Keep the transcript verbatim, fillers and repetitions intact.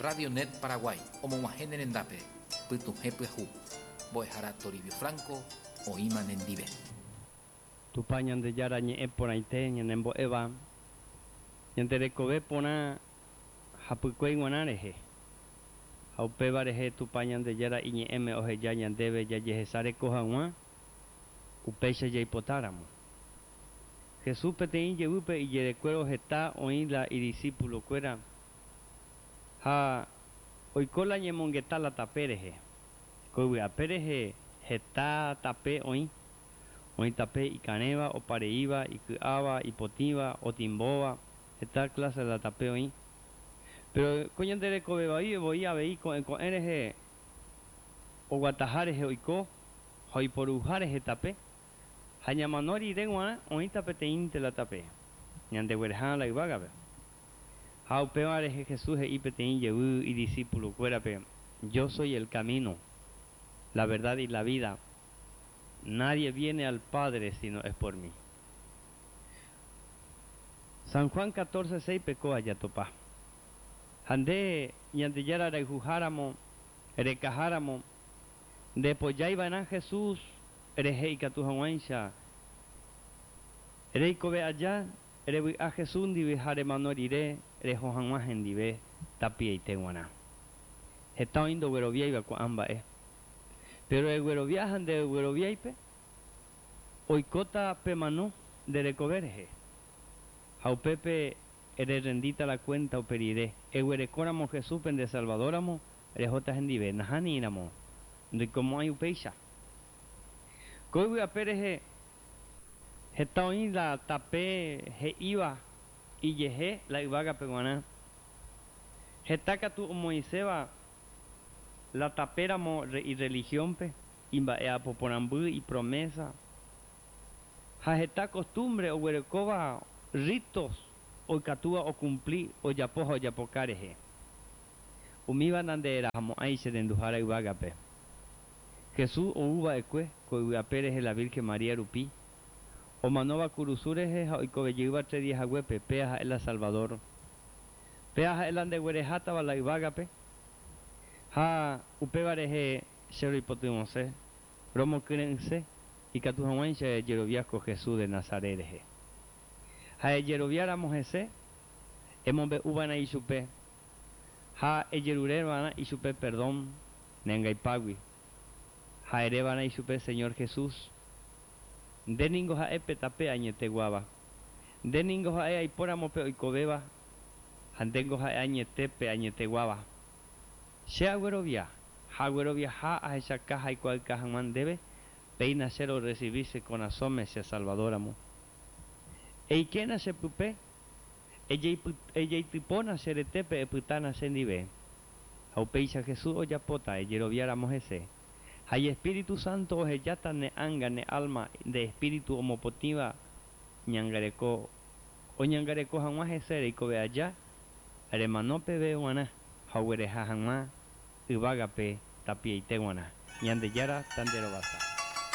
Radio Net Paraguay, omog̃uahẽ ne rendápe, pytuhẽ pyahu. Mbo'ehára Toribio Franco oĩma nendive. Tupã Ñandejára ñe'ẽ porãite ñanembo'éva ñande rekove porã hapykuéi g̃uarã rehe ha upéva rehe Tupã Ñandejára iñe'ẽme oheja ñandéve jajehesareko hag̃ua upéicha jaipotáramo. Jesús peteĩ jevýpe ijerekuévo heta oĩ la idiscípulo-kuéra ha oiko la ñemongeta la tape rehe. Ko yvy'ape rehe heta tape oĩ, oĩ tape ikarẽva, opareíva, iky'áva, ipotĩva, otimbóva, heta clase la tape oĩ. Pero ko ñande rekovevai voi avei ko'ẽ ko'ẽ rehe oguataha rehe oiko ha oiporuha rehe tape ha ñamano rire g̃uarã oĩta peteĩnte la tape ñandeguereha la yvágape. Ha upéva rehe Jesús he'i peteĩ jevy idiscípulo-kuérape: Yo soy el camino, la verdad y la vida. Nadie viene al Padre sino es por mí. San Juan catorce seis kóa jatopa. Ha nde Ñandejára rayhuháramo, rekaháramo, ndepojáiva'erã Jesús rehe ikatu hag̃uáicha reikove aja revy'a Jesús ndive ha remano rire reho hag̃ua hendive tapiaite g̃uarã. Heta oĩ ndogueroviáiva ko'ã mba'e. Pero eguerovia ha ndegueroviáipe oikóta pemano nde rekove rehe. Ha upépe ererendíta la cuenta upe rire. Eguerekóramo Jesúspe nde Salvadóramo rehóta hendive nahániramo ndoikomo'ãi upéicha. Ko yvy'ape rehe heta oĩ la tape he'íva ijehe la yvágape g̃uarã. Heta katu omoĩséva la tapéramo ireligiónpe imba'e'apoporãmby ipromesa ha heta costumbre oguerekóva ritos oikatúva ocumpli ojapo ha ojapoka rehe. Umíva nanderahamo'ãi che renduhára yvágape. Jesús ouva'ekue ko yvy'ape rehe la Virgen María rupi omanóva kurusu rehe ha oikovejeýva tres días haguépe péa ha'e la Salvador. Péa ha'e la ndeguerehátava la yvágape ha upéva rehe che roipotyvõse romokyre'ỹse ikatu hag̃uáicha ejerovia ko Jesús de Nazaret rehe. Ha ejeroviáramo hese emombe'úva'erã ichupe ha ejerureva'erã ichupe perdón neangaipágui ha ereva'erã ichupe Señor Jesús nde ningo ha'e pe tape añeteguáva nde ningo ha'e aipóramo pe oikovéva ha ndéngo ha'e añete pe añeteguáva. Che aguerovia ha agueroviaha ahechaka haikuaáka hag̃ua ndéve péina che rorecibí che korasõme che Salvadóramo. Eikéna chepype ejeitypóna che retépe epytána chendive. Ha upéicha Jesús ojapóta ejeroviáramo hese. Ha Espíritu Santo ohejáta ne ánga ne alma nde espíritu omopotĩva ñangareko oñangareko hag̃ua hese reikove aja remano peve g̃uarã ha oguereha hag̃ua yvágape tapiaite g̃uarã. Ñandejára tanderovasa.